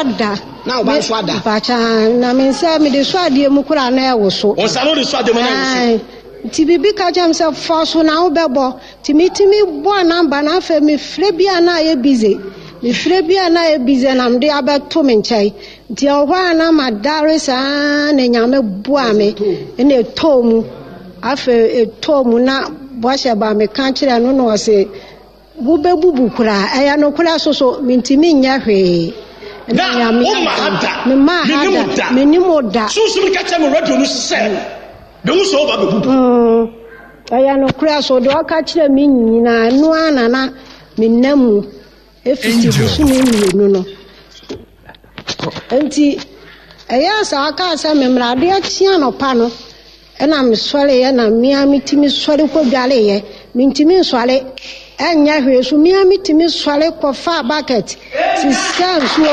ada. Na wo ba nso ada. Mpakyɛ na me nsa mede so adeɛ mu koraa na ɛwo so. Wo nsa no wode so adeɛ mu na ɛwo so. Nti biribi ka kyerɛ me sɛ fa so na wobɛbɔ. Nti metumi bɔɔ namba no afei mefrɛ bi a na ayɛ busy. Mefrɛ bi a na ayɛ busy na mede abɛto me nkyɛn. Nti ɛwɔ hɔ a na madare saa na Nyame boa me na ɛtɔɔ mu. Afei ɛtɔɔ mu na bɔhyɛ ba meka kyerɛ no na ɔse wobɛbubu koraa. Ɛyɛ nokorɛ so so mentumi nyɛ hwee. Na woma ha da. Mema ha da. Menim wo da. Sunsum ka kyerɛ me radio no so sɛ mehu sɛ woba bɛbubu. Ɛyɛ nokorɛ so deɛ ɔka kyerɛ me nyinaa ɛno ara na na menam mu ɛfiti bosome mmienu no. Nti ɛyɛɛ saa kaa sɛ memmra adeɛ kye anɔpa no ɛna mesɔreeɛ na mea metumi sɔre kɔdwareeɛ mentumi nsɔre ɛnyɛ hwee so mea metumi sɔre kɔfaa bucket sisa nsuo.